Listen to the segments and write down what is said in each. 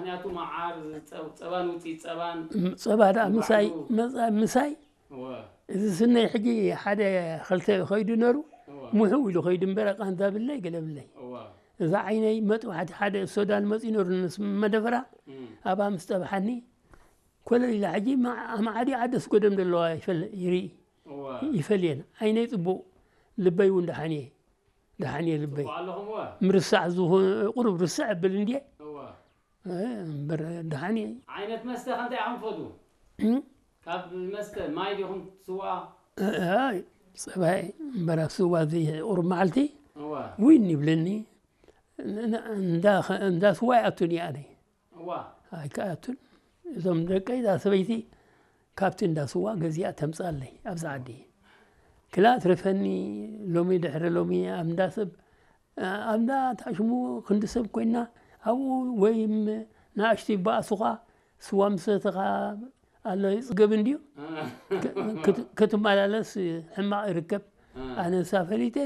ምኽንያቱ መዓር፣ ጸ-፣ ጸባን ውጽኢት ጸባን ም-፣ ጸባ ደኣ ምሳይ ንባዕሉ መጻ-፣ ምሳይ እወ፣ እዚ ስነይ ሕጂ ሓደ ኸልተ ኸይዱ ነሩ እወ፣ ምሕው ኢሉ ኸይዱ እምበር ቃንዛ ብለይ ገለ ብለይ። እወ፣ እዛ ዓይነይ መጥባሕቲ ሓደ ሶዳን መጺኡ ነሩ ንስ መደፈራ እም፣ ኣብኣ ምስ ጠብሓኒ ኮለል ኢላ ሕጂ ማ-፣ ኣማዓዲ ዓደስ ጎደም ዘለዋ ይፈል-፣ ይርኢ እወ። ይፈልየን። ዓይነይ ጽቡቕ ልበይ እውን ደሓን እየ። ደሓን እየ ልበይ። ጽቡቕ ኣለኹም እወ፣ ምርሳዕ ዝኾነ ቁሩብ ርስዕ እብል እንድየ እወ። እ፣ እምበር ደሓን እየ። ዓይነት መስተ ከ እንታይ ኢኹም ትፈትዉ? እም? ካብ መስተ ማይ ዲኹም ትስዋ? እ፣ ኣይ፣ ጸባይ እምበር ኣብ ስዋ እዚ ቁሩብ መዓልቲ እወ፣ ዊን ይብለኒ። ን-፣ ን-፣ እንዳ ኸ-፣ እንዳ ስዋ ይኣቱን እየ ኣነ። እዋ፣ ኣይከኣቱን። እዞም ደቀይ እዛ ሰበይቲ ካብቲ እንዳ ስዋ ገዚኣ ተምጻለይ ኣብዚ ዓዲ። ክላ ትረፈኒ ሎሚ ድሕሪ ሎሚ ኣብ እንዳ ሰብ፣ ኣብ እንዳ ታሽሙ ክንዲ ሰብ ኮይና ኣብኡ ወይ ም-፣ ንኣሽቱ ይበኣሱኻ ስዋ ምሰተኻ ኣሎ ይጽገብ እንድዩ። ክ-፣ ክት-፣ ክትመላለስ ሕማቕ ይርከብ። ኣነ ንሳ ፈሊጠ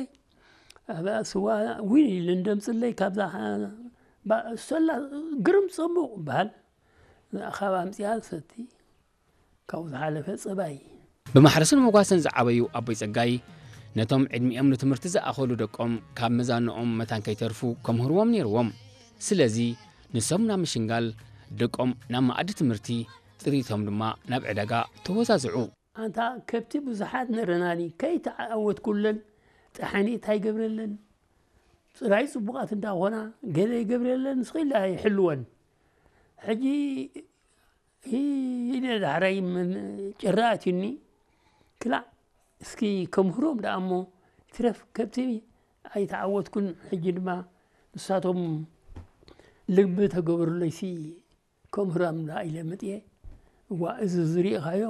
ኣብኣ ስዋ ዊን ኢሉ እንደምጽለይ ካብዛ ባ-፣ ሰላ ግርም ጽቡቕ በሃል። ካብ ኣምጽኣ ሰቲ ካብኡ ዝሓለፈ ጸባይ። ብማሕረስን መጓሰን ዝዓበዩ ኣቦይ ጸጋይ ነቶም ዕድሚኦም ንትምህርቲ ዝኣኸሉ ደቆም ካብ መዛንኦም መታን ከይተርፉ ከምህርዎም ነይርዎም። ስለዚ ንሶም ናብ ምሽንጋል፣ ደቆም ናብ መኣዲ ትምህርቲ፣ ጥሪቶም ድማ ናብ ዕዳጋ ተወዛዝዑ። ኣንታ ከብቲ ብዙሓት ነረናኒ ከይተዓወትኩለን ጠሓኒ እንታይ ገብረለን? ጽራይ ጽቡቓት እንዳኾና ገለ ይገብረለን ስኺላ ይሕልወን። ሕጂ ኢለ ዳሕራይ ምን ጭራ ኣትዩኒ ክላእ እስኪ ከምህሮም ደኣ እሞ ትረፍ ከብቲ ኣይተዓወትኩን። ሕጂ ድማ ንሳቶም ልቢ ተገብሩለይሲ ከምህሮም ደኣ ኢለ መጥየ። እዋ እዚ ዝሪእኻዮ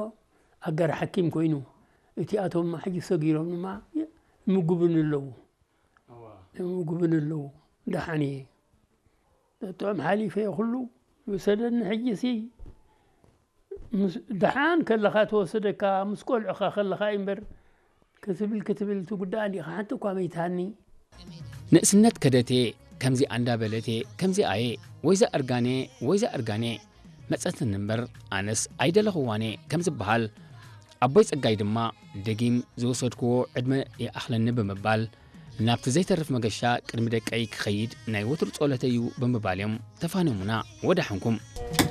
ኣጋር ሓኪም ኮይኑ እቲኣቶም ሕጂ ሰጊሮም ድማ ይምጉብኒ ኣለዉ። እዋ፣ ይምጉብኒ ኣለዉ። ደሓን እየ። ጥዑም ሓሊፈ እየ ኩሉ ይውሰደኒ። ሕጂሲ ምስ ደሓን ከለኻ ተወሰደካ ምስ ቆልዑኻ ከለኻ እዩ እምበር ክትብል ክትብል ትጉዳእ እንዲኻ ሓንቲ እኳ መይትሃኒ። ንእስነት ከደቴ ከምዚኣ እንዳበለቴ ከምዚኣየ ወይዛ እርጋኔ ወይዛ እርጋኔ መጸትኒ እምበር ኣነስ ኣይደለኽዋኔ ከም ዝበሃል ኣቦይ ጸጋይ ድማ ደጊም ዝወሰድክዎ ዕድመ ይኣኽለኒ ብምባል ናብቲ ዘይተርፍ መገሻ ቅድሚ ደቀይ ክኸይድ ናይ ወትሩ ጸሎተይ እዩ ብምባል እዮም ተፋንዮምና። ወዳሕንኩም።